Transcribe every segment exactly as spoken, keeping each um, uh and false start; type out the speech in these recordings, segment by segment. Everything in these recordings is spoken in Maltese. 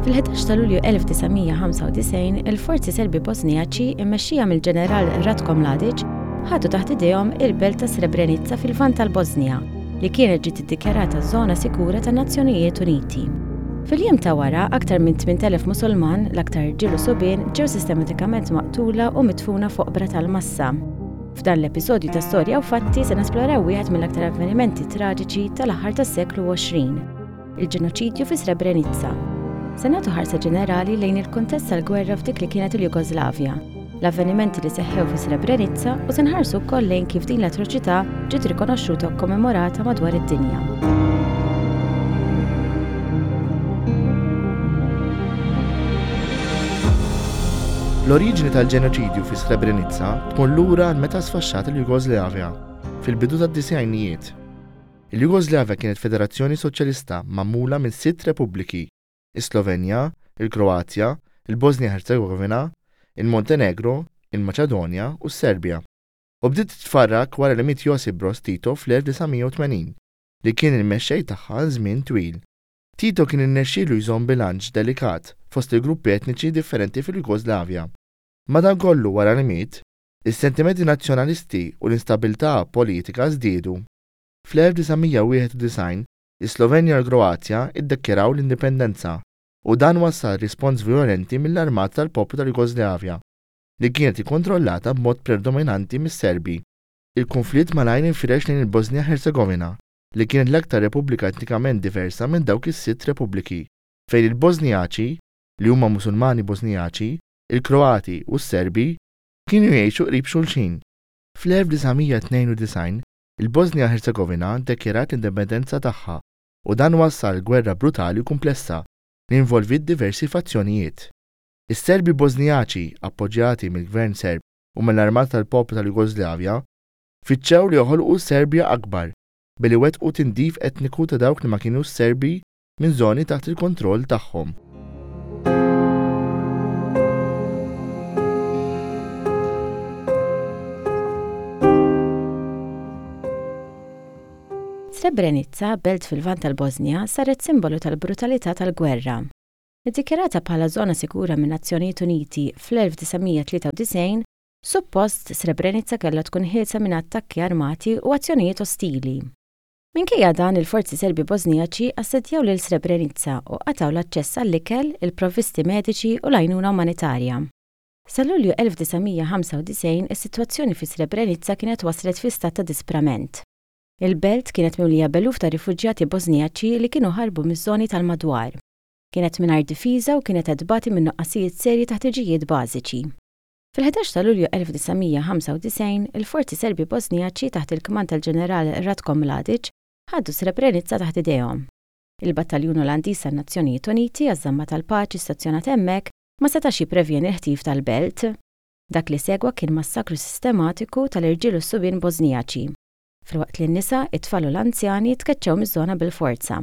Fil-ħdax ta' Lulju elf disa' mija ħamsa u disgħin, il-forzi Serbi Bosnijaċi immexxija mill-ġeneral Ratko Mladic ħadu taħt idejhom il-belt ta' Srebrenica fil-Lvant tal-Bosnija, li kienet ġiet iddikjarata żona sikura tan-Nazzjonijiet Uniti. Fil-jiem ta' wara, aktar minn tmint elef Musulman, l-aktar irġiel u subien, ġew sistematikament maqtula u midfuna fuq oqbra tal-massa. F'dan l-episodju ta' Storja u Fatti se nesploraw wieħed mill-aktar avvenimenti traġiċi tal-aħħar tas-seklu għoxrin, il-ġenoċidju fi Srebrenica. Se nagħtu ħarsa ġenerali lejn il-kuntest tal-gwerra f'dik li kienet il-Jugoslavja, l-avvenimenti li seħħew fi Srebrenica u se nħarsu wkoll lejn kif din l-atroċità ġiet rikonoxxuta u kommemorata madwar id-dinja. L-oriġini tal-ġenoċidju fi Srebrenica tmur lura għal meta sfaxxat il-Jugoslavja fil-bidu tad-disgħinijiet. Il-Jugoslavja kienet federazzjoni soċjalista magħmula minn sitt repubbliki: is-Slovenja, il-Kroazja, il-Bosnia Herzegovina, il-Montenegro, il-Maċedonja u s-Serbja. U bdiet titfarrak wara li miet Josip Broz Tito fl-elf disa' mija u tmenin, li kien il-mexxej tagħha għal żmien twil. Tito kien irnexxielu jżomm bilanċ delikat fost il-gruppi etniċi differenti fil-Jugoslavja. Madankollu wara li miet, is-sentimenti nazzjonalisti u l-instabilità politika żdiedu. Fl-elf disa' mija u wieħed u disgħin, is-Slovenja u l-Kroazja iddikjaraw l-indipendenza u dan wassal rispons violenti mill-Armata tal-Poplu tal-Jugoslavja, li kienet ikkontrollata b'mod predominanti mis-Serbi. Il-konflitt malajr infirex lejn il-Bosnia Herzegovina, li kienet l-aktar repubblika etnikament diversa minn dawk is-sitt repubbliki, fejn il-Bosnijaċi, li huma Musulmani Bosnijaċi, il-Kroati u s-Serbi kienu jgħixu qrib xulxin. Fl-elf disa' mija tnejn u disgħin, il-Bosnia Herzegovina ddikjarat l-indipendenza tagħha u dan wassal gwerra brutali u komplessa li involviet diversi fazzjonijiet. Is-Serbi Bosnijaċi, appoġġjati mill-Gvern Serb u mill-Armata tal-Poplu tal-Jugoslavja, fittxew li joħolqu Serbja akbar billi wettqu tindif etniku ta' dawk li ma kinux Serbi minn żoni taħt il-kontroll tagħhom. Srebrenica, belt fil-Lvant tal-Bosnja, saret simbolu tal-brutalità tal-gwerra. Iddikjarata bħala żona sikura minn Nazzjonijiet Uniti fl-elf disa' mija tlieta u disgħin, suppost Srebrenica kellha tkun ħielsa minn attakki armati u azzjonijiet ostili. Minkejja dan, il-forzi Serbi Bosnijaċi assedjaw lil Srebrenica u qatgħu l-aċċess għall-ikel, il-provvisti mediċi u l-għajnuna umanitarja. Sa Lulju elf disa' mija ħamsa u disgħin, is-sitwazzjoni fi Srebrenica kienet waslet fi stat ta' disprament. Il-belt kienet mimlija b'eluf ta' rifuġjati Bosnijaċi li kienu ħarbu miż-żoni tal-madwar. Kienet mingħajr difiża u kienet qed tbati minn nuqqasijiet serji ta' ħtiġijiet bażiċi. Fil-ħdax ta' Lulju elf disa' mija ħamsa u disgħin, il-forzi Serbi Bosnijaċi taħt il-kmand tal-ġeneral Ratko Mladic ħadu Srebrenica taħt idejhom. Il-Battaljun Olandiż tan-Nazzjonijiet Uniti għaż-żamma tal-paċi stazzjonat hemmhekk ma setax jipprevjeni l-ħtif tal-belt. Dak li segwa kien massakru sistematiku tal-irġiel u s-subien Bosnijaċi, filwaqt li n-nisa, it-tfal u l-anzjani tkeċċew miż-żona bil-forza.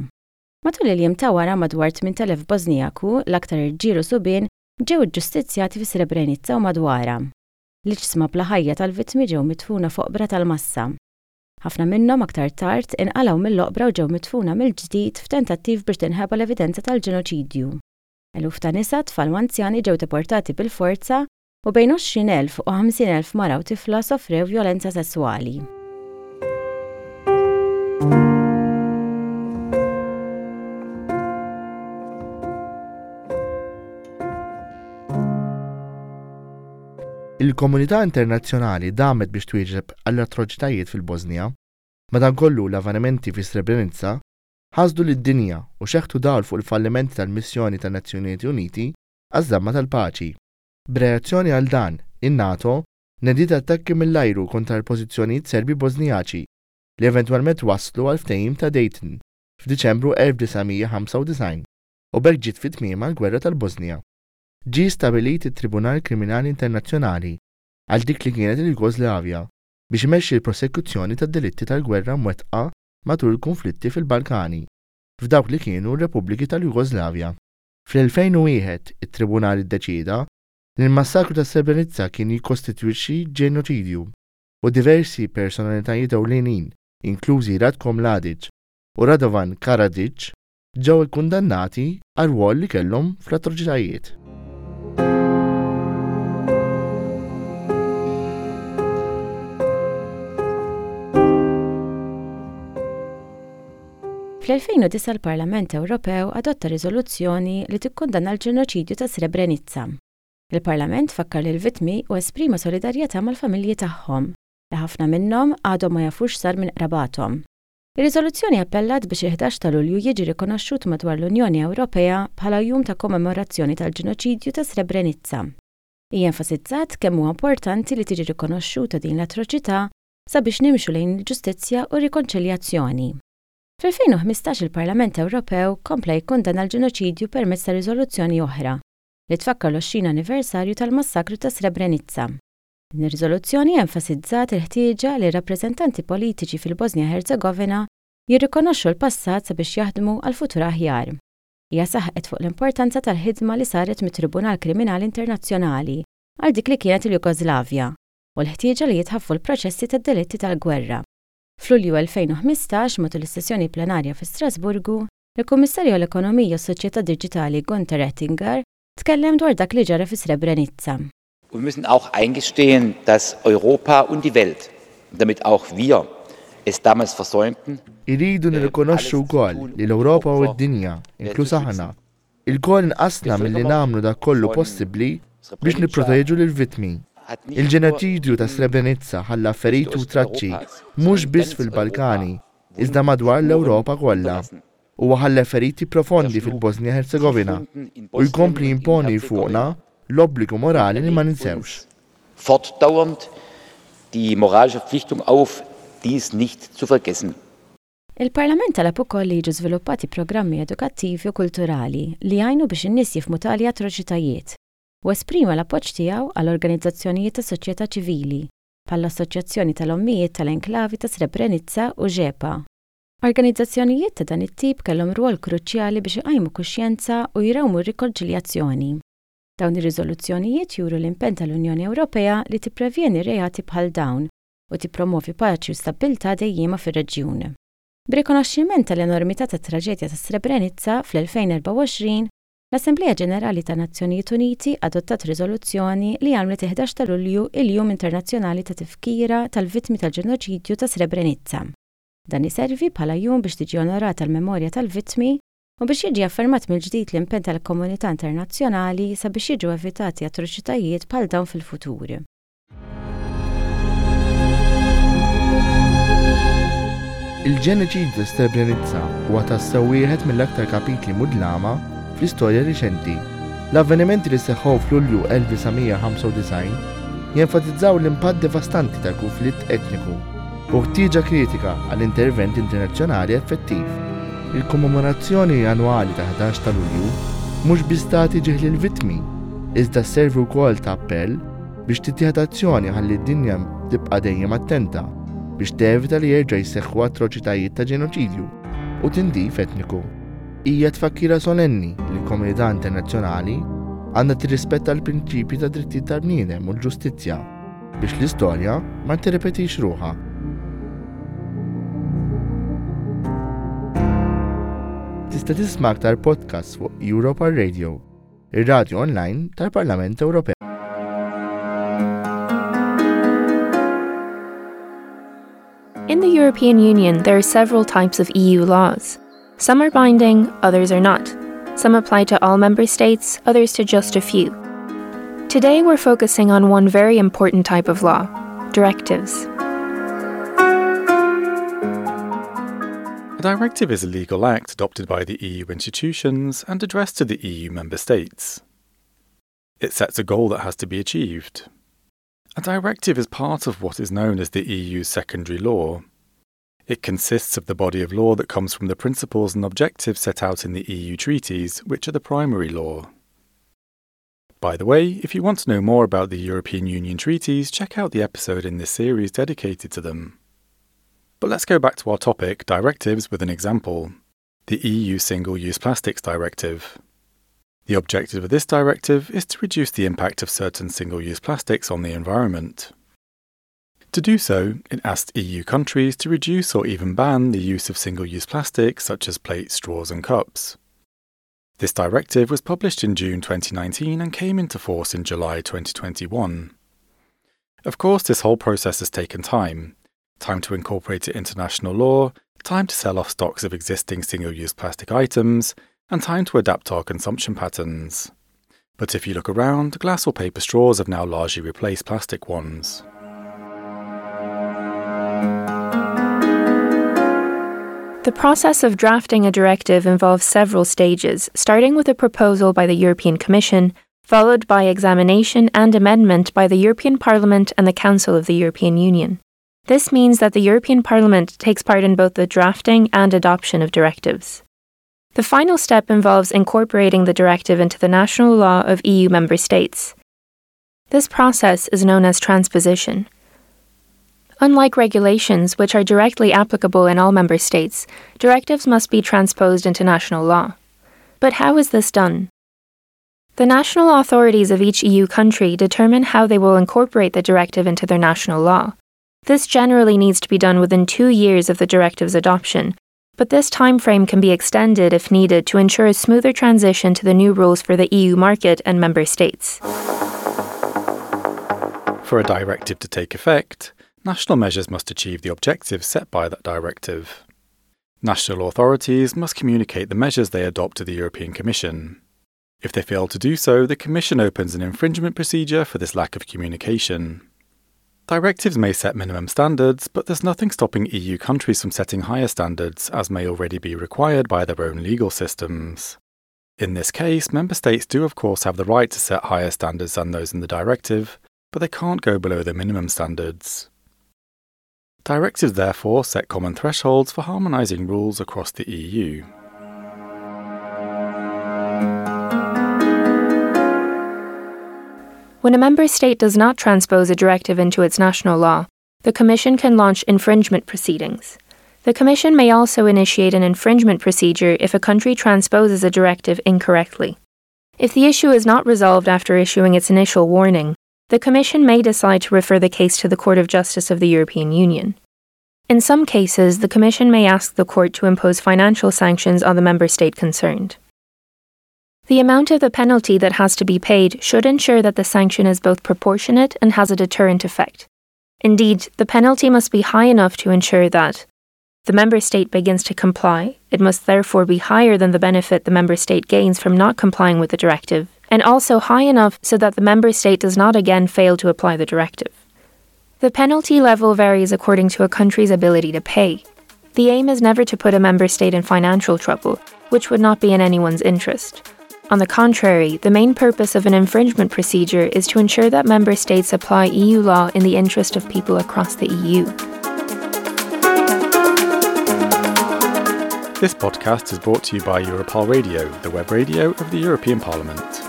Matul il-jiem ta' wara madwar tmint elef Bosnijaku, l-aktar irġiel u subien, ġew iġġustizzjati fi Srebrenica u madwarha. L-iġsma bla ħajja tal-vittmi ġew midfuna fuq oqbra tal-massa. Ħafna minnhom aktar tard inqalgħu mill-oqbra u ġew midfuna mill-ġdid f'tentattiv biex tinħeba l-evidenza tal-ġenoċidju. Eluf ta' nisa, tfal u anzjani ġew deportati bil-forza u bejn għoxrin elf u ħamsin elf mara u tifla sofrew vjolenza sesswali. Il-komunità internazzjonali damet biex twieġeb għall-atroċitajiet fil-Bosnija. Madankollu l-avvenimenti fi Srebrenica ħasdu lid-dinja u xeħtu dawl fuq il-fallimenti tal-missjoni tan-Nazzjonijiet Uniti għaż-żamma tal-paċi. B'reazzjoni għal dan, in-NATO nediet attakki mill-ajru kontra l-pożizzjonijiet Serbi Bosnijaċi li eventwalment waslu għal ftehim ta' Dayton f'Diċembru elf disa' mija ħamsa u disgħin u b'hekk ġiet fi tmiemha l-Gwerra tal-Bosnija. Ġie stabilit it-Tribunal Kriminali Internazzjonali għal dik li kienet il-Jugoslavja biex imexxi l-prosekuzzjoni tad-delitti tal-gwerra mwettqa matul il-konflitti fil-Balkani, f'dawk li kienu r-Repubbliki tal-Jugoslavja. Fl-elfejn u wieħed it-Tribunal iddeċieda li l-massakru ta' Srebrenica kien jikkostitwixxi ġenoċidju u diversi personalitajiet ewlenin, inklużi Ratko Mladic u Radovan Karadzic, ġew ikkundannati għar-rwol li kellhom fl-atroċitajiet. Fl-elfejn u disgħa l-Parlament Ewropew adotta riżoluzzjoni li tikkundanna l-ġenoċidju ta' Srebrenica. Il-Parlament fakkar lill-vittmi u esprima solidarjetà mal-familji tagħhom, li ħafna minnhom għadhom ma jafux sar minn qrabathom. Ir-riżoluzzjoni appellat biex il-ħdax ta' Lulju jiġi rikonoxxut madwar l-Unjoni Ewropea bħala jum ta' kommemorazzjoni tal-ġenoċidju ta' Srebrenica. Hija enfasizzat kemm huwa importanti li tiġi rikonoxxuta din l-atroċità sabiex nimxu lejn il-ġustizzja u r-rikonċiljazzjoni. Fl-elfejn u ħmistax il-Parlament Ewropew kompla jikkundanna l-ġenoċidju permezz ta' riżoluzzjoni oħra li tfakkar l-għoxrin anniversarju tal-massakru ta' Srebrenica. Din ir-riżoluzzjoni enfasizzat il-ħtieġa li r-rappreżentanti politiċi fil-Bosnia Herzegovina jirrikonoxxu l-passat sabiex jaħdmu għal futur aħjar. Hija saħqet fuq l-importanza tal-ħidma li saret mit-Tribunal Kriminali Internazzjonali għal dik li kienet il-Jugoslavja u l-ħtieġa li jitħaffu l-proċessi tad-delitti tal-gwerra. F'Lulju elfejn u ħmistax, matul is-sessjoni plenarja fi Strasburgu, il-Kummissarju għall-Ekonomija u s-Soċjetà Diġitali Günther Oettinger tkellem dwar dak li ġara fi Srebrenica. Und wir müssen auch eingestehen, dass Europa und die Welt, damit auch wir, es damals versäumten. Iridu nirrikonoxxu wkoll li l-Ewropa u d-dinja, inkluż aħna, ilkoll nqasna milli nagħmlu dak kollu possibbli biex nipproteġu lill-vittmi. Il-ġenoċidju ta' Srebrenica ħalla feriti u traċċi mhux biss fil-Balkani, iżda madwar l-Ewropa kollha. Huwa ħalla feriti profondi fil-Bosnia Herzegovina u jkompli jimponi fuqna l-obbligu morali li ma ninsewx. Fortdauernd die moralische Verpflichtung auf, dies nicht zu vergessen. Il-Parlament talab ukoll li jiġu żviluppati programmi edukattivi u kulturali li jgħinu biex in-nies jifhmu tali atroċitajiet u esprima l-appoġġ tiegħu għal organizzazzjonijiet ta' soċjetà ċivili bħall-Assoċjazzjoni tal-Ommijiet tal-Enklavi ta' Srebrenica u Žepa. Organizzazzjonijiet ta' dan it-tip kellhom rwol kruċjali biex iqajmu kuxjenza u jrawmu r-rikonċiljazzjoni. Dawn ir-riżoluzzjonijiet juru l-impenn tal-Unjoni Ewropea li tipprevjeni reati bħal dawn u tippromovi paċi u stabbiltà dejjiema fir-reġjun. B'rikonoxximent tal-enormità tat-traġedja ta' Srebrenica fl-elfejn erbgħa u għoxrin, l-Assemblea Ġenerali ta' Nazzjonijiet Uniti adottat riżoluzzjoni li għamlet il-ħdax ta' Lulju il-Jum Internazzjonali ta' Tifkira tal-Vittmi tal-Ġenoċidju ta' Srebrenica. Dan iservi bħala jum biex tiġi onorata l-memorja tal-vittmi u biex jiġi affermat mill-ġdid l-impenn tal-komunità internazzjonali sabiex jiġu evitati atroċitajiet bħal dawn fil-futur. Il-ġenoċidju ta' Srebrenica huwa tassew wieħed mill-aktar kapitli mudlama fl-istorja riċenti. L-avvenimenti li seħħew f'Lulju elf disa' mija ħamsa u disgħin jenfasizzaw l-impatt devastanti tal-konflitt etniku u ħtieġa kritika għall intervent internazzjonali effettiv. Il-kommemorazzjoni annwali ta' ħdax ta' Lulju mhux biss tagħti ġieħ lill-vittmi, iżda sservi wkoll ta' appell biex tittieħed azzjoni ħalli d-dinja tibqa' dejjem attenta biex tevita li jerġa' jseħħu atroċitajiet ta' ġenoċidju u tindif etniku. Hija tfakkira solenni li l-komunità internazzjonali għandha tirrispetta l-prinċipji ta' drittijiet tal-bniedem u l-ġustizzja biex l-istorja ma tirrepetix ruħha. Tista' tisma' aktar podcasts fuq Europa Radio, ir-radju online tal-Parlament Ewropew. In the European Union, there are several types of E U laws. Some are binding, others are not. Some apply to all member states, others to just a few. Today we're focusing on one very important type of law, directives. A directive is a legal act adopted by the E U institutions and addressed to the E U member states. It sets a goal that has to be achieved. A directive is part of what is known as the E U's secondary law. It consists of the body of law that comes from the principles and objectives set out in the E U treaties, which are the primary law. By the way, if you want to know more about the European Union treaties, check out the episode in this series dedicated to them. But let's go back to our topic, directives, with an example. The E U Single-Use Plastics Directive. The objective of this directive is to reduce the impact of certain single-use plastics on the environment. To do so, it asked E U countries to reduce or even ban the use of single-use plastics such as plates, straws and cups. This directive was published in June twenty nineteen and came into force in July twenty twenty-one. Of course, this whole process has taken time. Time to incorporate it into national law, time to sell off stocks of existing single-use plastic items, and time to adapt our consumption patterns. But if you look around, glass or paper straws have now largely replaced plastic ones. The process of drafting a directive involves several stages, starting with a proposal by the European Commission, followed by examination and amendment by the European Parliament and the Council of the European Union. This means that the European Parliament takes part in both the drafting and adoption of directives. The final step involves incorporating the directive into the national law of E U member states. This process is known as transposition. Unlike regulations, which are directly applicable in all member states, directives must be transposed into national law. But how is this done? The national authorities of each E U country determine how they will incorporate the directive into their national law. This generally needs to be done within two years of the directive's adoption, but this time frame can be extended if needed to ensure a smoother transition to the new rules for the E U market and member states. For a directive to take effect, national measures must achieve the objectives set by that directive. National authorities must communicate the measures they adopt to the European Commission. If they fail to do so, the Commission opens an infringement procedure for this lack of communication. Directives may set minimum standards, but there's nothing stopping E U countries from setting higher standards, as may already be required by their own legal systems. In this case, member states do of course have the right to set higher standards than those in the directive, but they can't go below the minimum standards. Directives therefore set common thresholds for harmonising rules across the E U. When a member state does not transpose a directive into its national law, the Commission can launch infringement proceedings. The Commission may also initiate an infringement procedure if a country transposes a directive incorrectly. If the issue is not resolved after issuing its initial warning, the Commission may decide to refer the case to the Court of Justice of the European Union. In some cases, the Commission may ask the Court to impose financial sanctions on the member state concerned. The amount of the penalty that has to be paid should ensure that the sanction is both proportionate and has a deterrent effect. Indeed, the penalty must be high enough to ensure that the member state begins to comply. It must therefore be higher than the benefit the member state gains from not complying with the directive, and also high enough so that the member state does not again fail to apply the directive. The penalty level varies according to a country's ability to pay. The aim is never to put a member state in financial trouble, which would not be in anyone's interest. On the contrary, the main purpose of an infringement procedure is to ensure that member states apply E U law in the interest of people across the E U. This podcast is brought to you by Europarl Radio, the web radio of the European Parliament.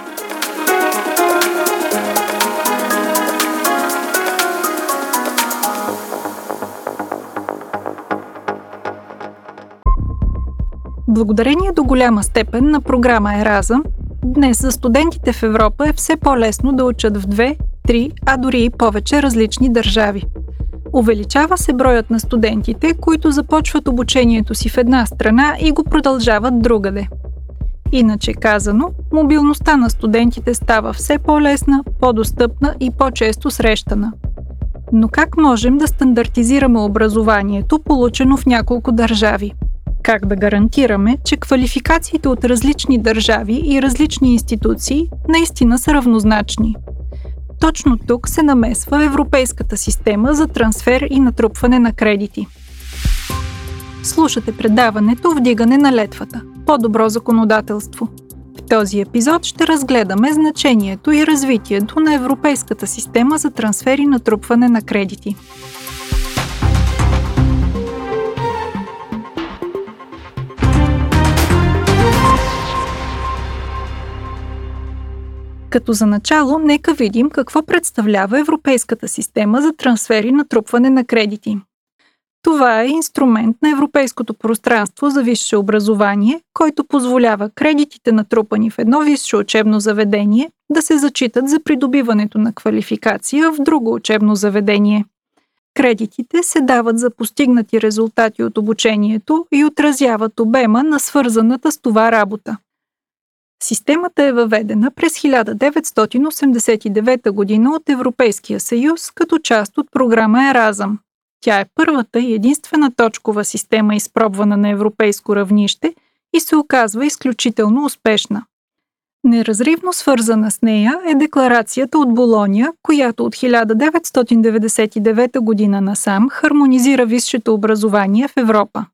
Благодарение до голяма степен на програма Еразъм, днес за студентите в Европа е все по-лесно да учат в две, три, а дори и повече различни държави. Увеличава се броят на студентите, които започват обучението си в една страна и го продължават другаде. Иначе казано, мобилността на студентите става все по-лесна, по-достъпна и по-често срещана. Но как можем да стандартизираме образованието, получено в няколко държави? Как да гарантираме, че квалификациите от различни държави и различни институции наистина са равнозначни? Точно тук се намесва европейската система за трансфер и натрупване на кредити. Слушате предаването «Вдигане на летвата» – по-добро законодателство. В този епизод ще разгледаме значението и развитието на европейската система за трансфер и натрупване на кредити. Като за начало, нека видим какво представлява европейската система за трансфер и натрупване на кредити. Това е инструмент на европейското пространство за висше образование, който позволява кредитите, натрупани в едно висше учебно заведение, да се зачитат за придобиването на квалификация в друго учебно заведение. Кредитите се дават за постигнати резултати от обучението и отразяват обема на свързаната с това работа. Системата е въведена през хиляда деветстотин осемдесет и девета година от Европейския съюз като част от програма Еразъм. Тя е първата и единствена точкова система, изпробвана на европейско равнище и се оказва изключително успешна. Неразривно свързана с нея е декларацията от Болоня, която от хиляда деветстотин деветдесет и девета година насам хармонизира висшето образование в Европа.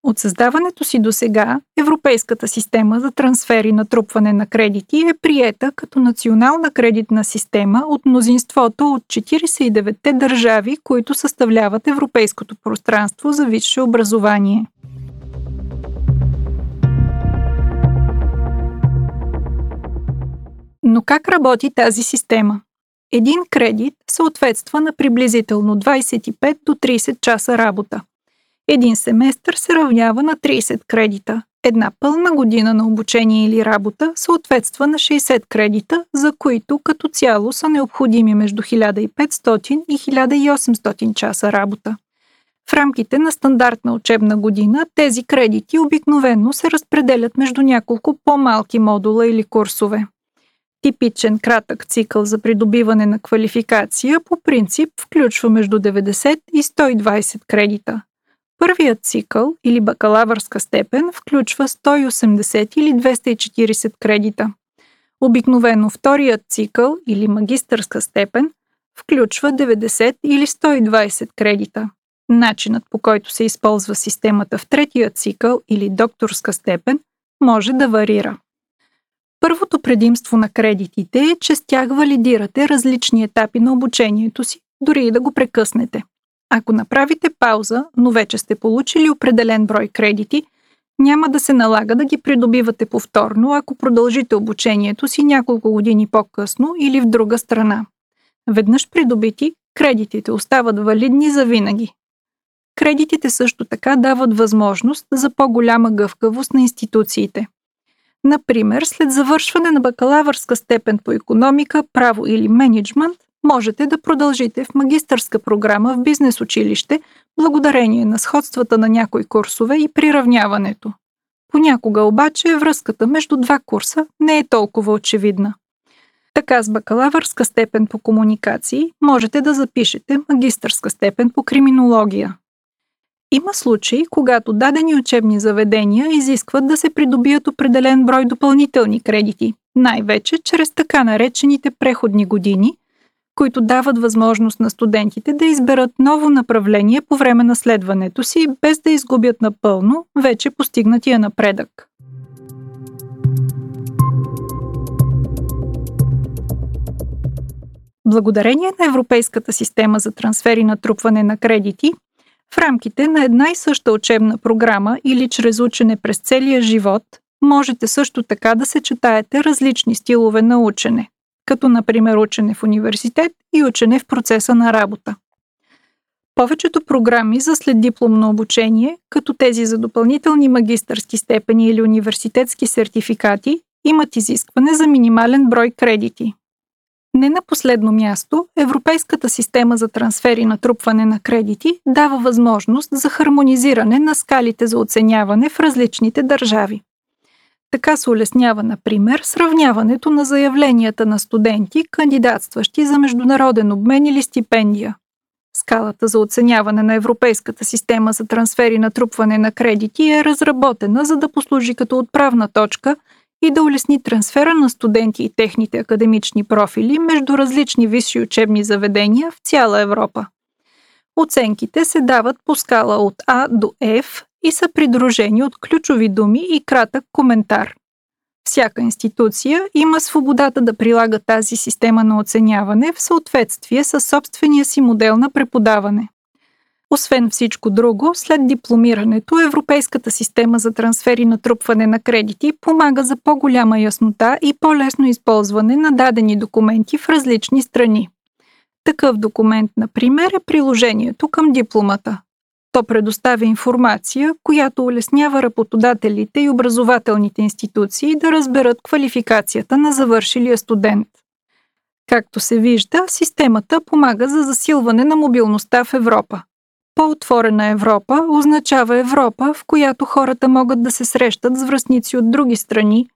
От създаването си досега, Европейската система за трансфер и натрупване на кредити е приета като национална кредитна система от мнозинството от четиридесет и деветте държави, които съставляват Европейското пространство за висше образование. Но как работи тази система? Един кредит съответства на приблизително двадесет и пет до тридесет часа работа. Един семестър се равнява на тридесет кредита. Една пълна година на обучение или работа съответства на шестдесет кредита, за които като цяло са необходими между хиляда и петстотин и хиляда и осемстотин часа работа. В рамките на стандартна учебна година тези кредити обикновено се разпределят между няколко по-малки модула или курсове. Типичен кратък цикъл за придобиване на квалификация по принцип включва между деветдесет и сто и двадесет кредита. Първият цикъл или бакалавърска степен включва сто и осемдесет или двеста и четиридесет кредита. Обикновено вторият цикъл или магистърска степен включва деветдесет или сто и двадесет кредита. Начинът, по който се използва системата в третия цикъл или докторска степен, може да варира. Първото предимство на кредитите е, че с тях валидирате различни етапи на обучението си, дори и да го прекъснете. Ако направите пауза, но вече сте получили определен брой кредити, няма да се налага да ги придобивате повторно, ако продължите обучението си няколко години по-късно или в друга страна. Веднъж придобити, кредитите остават валидни завинаги. Кредитите също така дават възможност за по-голяма гъвкавост на институциите. Например, след завършване на бакалавърска степен по икономика, право или мениджмънт, можете да продължите в магистърска програма в бизнес училище, благодарение на сходствата на някои курсове и приравняването. Понякога обаче връзката между два курса не е толкова очевидна. Така с бакалавърска степен по комуникации можете да запишете магистърска степен по криминология. Има случаи, когато дадени учебни заведения изискват да се придобият определен брой допълнителни кредити, най-вече чрез така наречените преходни години, които дават възможност на студентите да изберат ново направление по време на следването си, без да изгубят напълно вече постигнатия напредък. Благодарение на Европейската система за трансфер и натрупване на кредити, в рамките на една и съща учебна програма или чрез учене през целия живот, можете също така да съчетаете различни стилове на учене, като например учене в университет и учене в процеса на работа. Повечето програми за следдипломно обучение, като тези за допълнителни магистърски степени или университетски сертификати, имат изискване за минимален брой кредити. Не на последно място, Европейската система за трансфер и натрупване на кредити дава възможност за хармонизиране на скалите за оценяване в различните държави. Така се улеснява, например, сравняването на заявленията на студенти, кандидатстващи за международен обмен или стипендия. Скалата за оценяване на Европейската система за трансфер и натрупване на кредити е разработена, за да послужи като отправна точка и да улесни трансфера на студенти и техните академични профили между различни висши учебни заведения в цяла Европа. Оценките се дават по скала от А до Ф и са придружени от ключови думи и кратък коментар. Всяка институция има свободата да прилага тази система на оценяване в съответствие със собствения си модел на преподаване. Освен всичко друго, след дипломирането, Европейската система за трансфер и натрупване на кредити помага за по-голяма яснота и по-лесно използване на дадени документи в различни страни. Такъв документ, например, е приложението към дипломата. То предоставя информация, която улеснява работодателите и образователните институции да разберат квалификацията на завършилия студент. Както се вижда, системата помага за засилване на мобилността в Европа. По-отворена Европа означава Европа, в която хората могат да се срещат с връстници от други страни,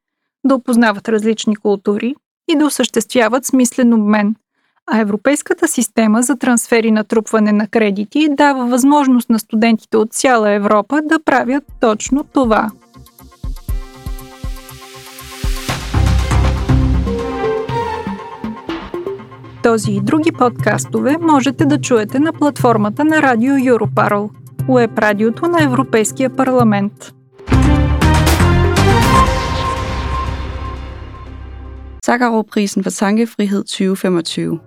да опознават различни култури и да осъществяват смислен обмен. А европейската система за трансфер и натрупване на кредити дава възможност на студентите от цяла Европа да правят точно това. Този и други подкастове можете да чуете на платформата на Радио Europarl, уеб радиото на Европейския парламент. Sakharovprisen for tankefrihed tyve femogtyve.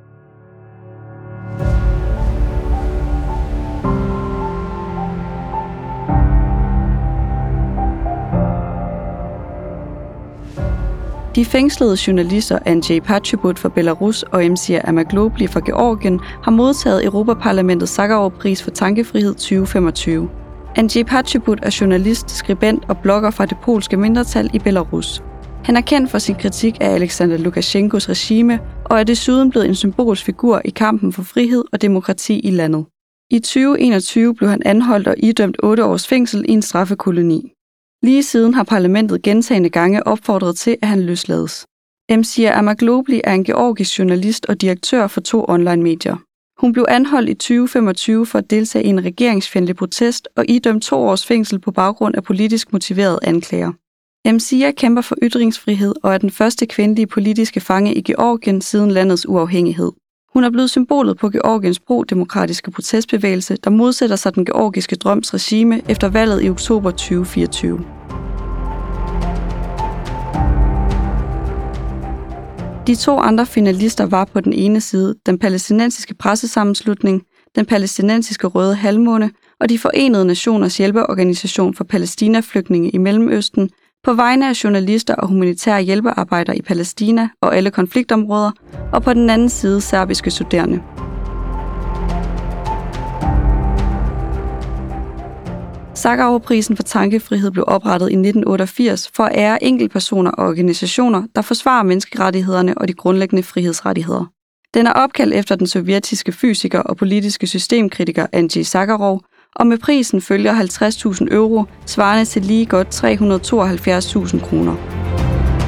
De fængslede journalister Andrzej Poczobut fra Belarus og Mzia Amaglobli fra Georgien har modtaget Europaparlamentets Sakharovpris for tankefrihed tyve femogtyve. Andrzej Poczobut er journalist, skribent og blogger fra det polske mindretal i Belarus. Han er kendt for sin kritik af Alexander Lukasjenkos regime og er desuden blevet en symbolsk figur i kampen for frihed og demokrati i landet. I tyve enogtyve blev han anholdt og idømt otte års fængsel i en straffekoloni. Lige siden har parlamentet gentagne gange opfordret til, at han løslades. Mzia Amaglobli er en georgisk journalist og direktør for to online-medier. Hun blev anholdt i tyve femogtyve for at deltage i en regeringsfjendtlig protest og idømt to års fængsel på baggrund af politisk motiverede anklager. Mzia kæmper for ytringsfrihed og er den første kvindelige politiske fange i Georgien siden landets uafhængighed. Hun er blevet symbolet på Georgiens pro-demokratiske protestbevægelse, der modsætter sig den georgiske drøms regime efter valget i oktober tyve fireogtyve. De to andre finalister var på den ene side den palæstinensiske pressesammenslutning, den palæstinensiske Røde Halvmåne og de Forenede Nationers hjælpeorganisation for palæstinaflygtninge i Mellemøsten, på vegne af journalister og humanitære hjælpearbejdere i Palæstina og alle konfliktområder, og på den anden side serbiske studerende. Sakharovprisen for tankefrihed blev oprettet i nitten otteogfirs for at ære enkeltpersoner og organisationer, der forsvarer menneskerettighederne og de grundlæggende frihedsrettigheder. Den er opkaldt efter den sovjetiske fysiker og politiske systemkritiker Andrzej Sakharov, og med prisen følger halvtreds tusind euro, svarende til lige godt tre hundrede og tooghalvfjerds tusind kroner.